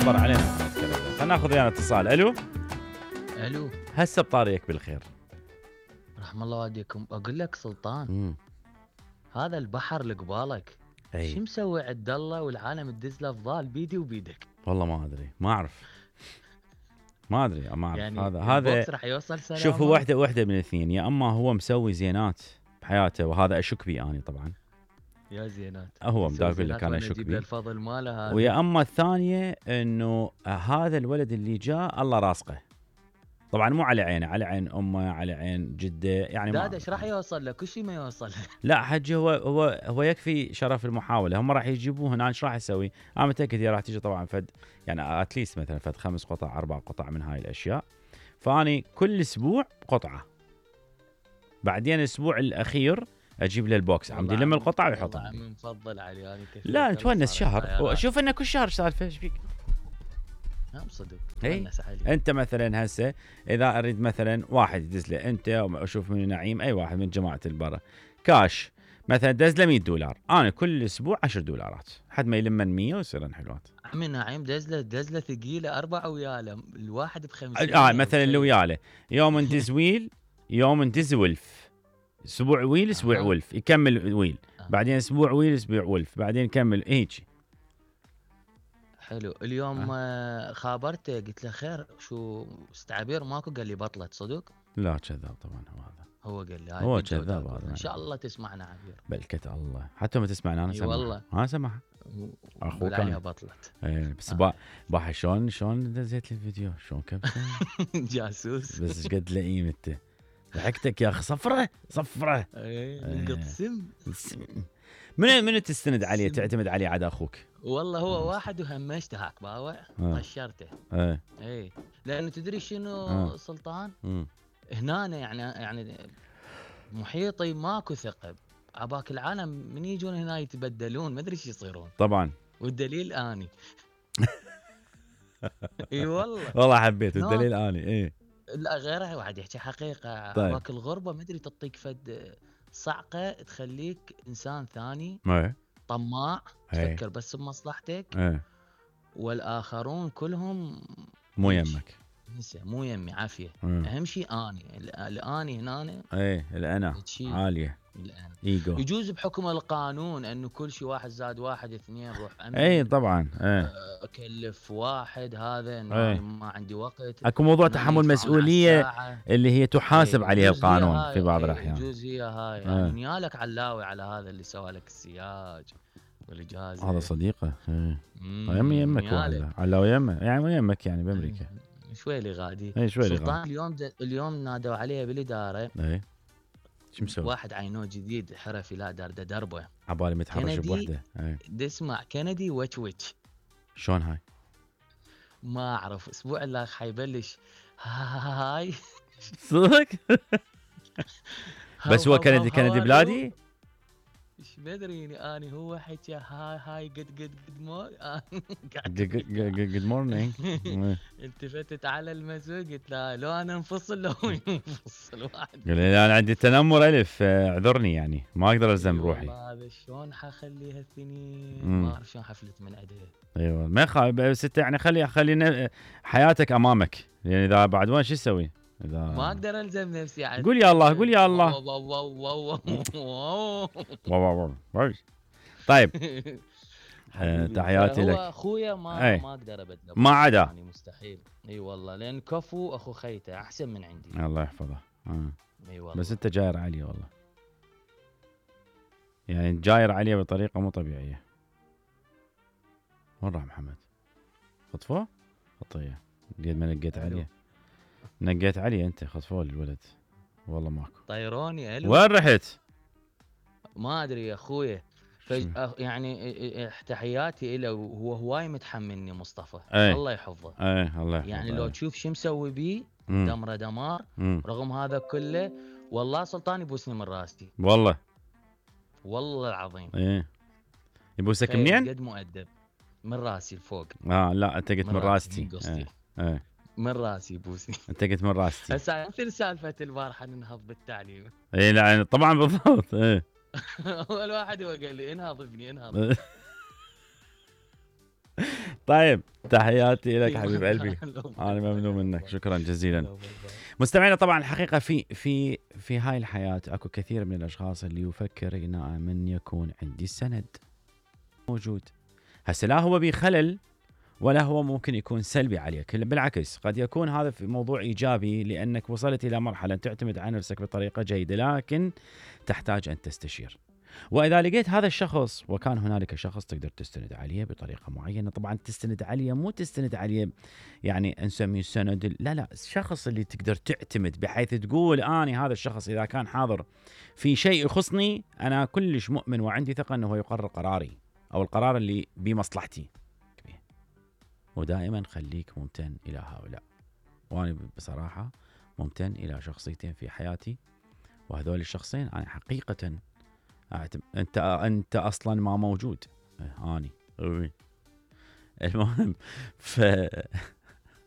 اخبار علينا محمد كلام. خلينا ناخذ ويانا اتصال. الو هسه بطاريك بالخير. رحم الله والديكم. اقول لك سلطان، هذا البحر اللي قبالك شو مسوي عبد الله والعالم تدز له افضال بيدي وبيدك؟ والله ما ادري، ما اعرف يعني هذا راح يوصل سلامه. شوف، واحده من الاثنين، يا اما هو مسوي زينات بحياته وهذا اشك بي اني طبعا، يا زينات هو بدي اقول لك انا اشك بي، الفضل ماله هذا. ويا اما الثانيه انه هذا الولد اللي جاء الله راسقه، طبعا مو على عينه، على عين امه، على عين جده، يعني داد ايش راح يوصل له؟ كل شيء ما يوصل له. لا حجي، هو يكفي شرف المحاوله. هم راح يجيبوه هنا، ايش راح يسوي؟ انا متاكد هي راح تيجي طبعا فد، يعني اتليست مثلا فد 5 قطع 4 قطع من هاي الاشياء، فاني كل اسبوع قطعه، بعدين الاسبوع الاخير اجيب له البوكس عمدي لم القطع ويحطها. عمي مفضل علي انا كثير. لا نتونس شهر، شوف انه كل شهر سالفه ايش فيك؟ نعم صدق. انت مثلا هسه اذا اريد مثلا واحد يدز له، انت اشوف من نعيم اي واحد من جماعه البرا كاش مثلا دز له $100، انا كل اسبوع $10 حد ما يلمن 100 ويصيرن حلوات. عمي نعيم دز له ثقيله 4 وياله الواحد ب50. مثلا اللي وياله يوم ندز ويل، يوم ندز ولف، اسبوع ويل اسبوع ولف، يكمل ويل، بعدين اسبوع ويل اسبوع ولف، بعدين يكمل هيك. حلو. اليوم خابرته قلت له خير شو استعبير ماكو؟ قال لي بطلت. صدق؟ لا كذاب طبعا. هو قال لي هو كذاب هذا. ان شاء الله تسمعنا عبير. بلكة الله، حتى ما تسمعنا انا سمع. والله انا سمع اخوك عليها بطلت. بس باح شلون دزيت لي الفيديو، شلون كبسه جاسوس. بس ايش قد لئيم انت، ضحكتك يا اخي. صفره نقط سم. من تستند عليه، تعتمد عليه عاد اخوك؟ والله هو واحد وهمشته هاك باوع طشرته. اي لانه تدري شنو سلطان؟ هنا يعني محيطي ماكو ثقب، عباك العالم من يجون هنا يتبدلون، ما ادري ايش يصيرون طبعا. والدليل اني. اي والله حبيت الدليل اني. لا غيره واحد يحكي حقيقه. طيب. عباك الغربه ما ادري تعطيك فد صعقه تخليك انسان ثاني. طماع. تفكر بس بمصلحتك. والاخرون كلهم مو يمك. مو يمي عافيه. اهم شيء اني الاني هنا. الانا عاليه. ايجو. يجوز بحكم القانون انه كل شيء 1 زائد 1 2 روح طبعا. اكلف واحد هذا انه ما عندي وقت. اكو موضوع تحمل مسؤوليه اللي هي تحاسب عليها القانون في بعض الاحيان. يجوز هي هاي يعني نيالك علاوي على هذا اللي سوى لك السياج والاجازه. هذا صديقه. يمك علاوي يمه يعني يمك يعني بامريكا. شوي لي غادي. شوي لي غادي. اليوم نادوا عليه بالاداره. شو مسوي؟ واحد عينوه جديد حرفي، لا دربه عبالي متحرش بوحده. اسمع كندي وتش. شلون هاي؟ ما اعرف. اسبوع اللي حيبلش هاي صدق. بس هو كندي بلادي. ايش بدريني اني هو حكى هاي جود مورنينج. التفتت على المسوق قلت له لو انا انفصل لو ينفصل واحد. قال لي انا عندي تنمر الف، اعذرني يعني ما اقدر الزم روحي. هذا شلون حخليها الثنين ما اعرف شلون حفلت من عندها. ما يخالف، بس انت يعني خلي حياتك امامك، يعني اذا بعد وين شو تسوي؟ ما اقدر الزم نفسي عاد. قول يا الله قول يا الله. طيب. تحياتي لك. هو اخويا ما اقدر ابدله ما عدا يعني مستحيل. اي والله لان كفو اخو خيته احسن من عندي. الله يحفظه. اي والله. بس انت جاير عليه والله، يعني جاير عليه بطريقه مو طبيعيه. وين راح محمد؟ خطفوه؟ خطيه قد ما نقيت عليه. نقيت علي انت، خطفوا لي الولد والله ماكو. طيروني. وين رحت؟ ما ادري يا اخويا. يعني تحياتي له، هو هواي متحملني مصطفى. الله يحفظه. الله يحفظه. يعني لو تشوف شو مسوي بي دمره دمار. رغم هذا كله والله سلطان يبوسني من راسي. والله العظيم. يبوسك منين؟ قد مؤدب من راسي لفوق. لا انت قلت من راستي. من راسي بوسني. انت قلت من راستي. هسه مثل سالفه البارحه ننهض بالتعليم. لا طبعا بالضبط. اول واحد هو قال لي انهض ابني انهض. طيب تحياتي لك حبيب قلبي، انا ممنون منك، شكرا جزيلا. مستمعينا طبعا الحقيقه في هاي الحياه اكو كثير من الاشخاص اللي يفكر ان من يكون عندي السند موجود. هسه لا هو بخلل ولا هو ممكن يكون سلبي عليك، بالعكس قد يكون هذا في موضوع ايجابي لانك وصلت الى مرحله تعتمد على نفسك بطريقه جيده، لكن تحتاج ان تستشير. واذا لقيت هذا الشخص وكان هنالك شخص تقدر تستند عليه بطريقه معينه، طبعا تستند عليه مو تستند عليه يعني نسميه سند، لا الشخص اللي تقدر تعتمد بحيث تقول اني هذا الشخص اذا كان حاضر في شيء يخصني انا كلش مؤمن وعندي ثقه انه هو يقرر قراري او القرار اللي بمصلحتي. ودائما خليك ممتن الى هؤلاء. وانا بصراحه ممتن الى شخصيتين في حياتي، وهذول الشخصين انا حقيقه انت اصلا ما موجود. اني المهم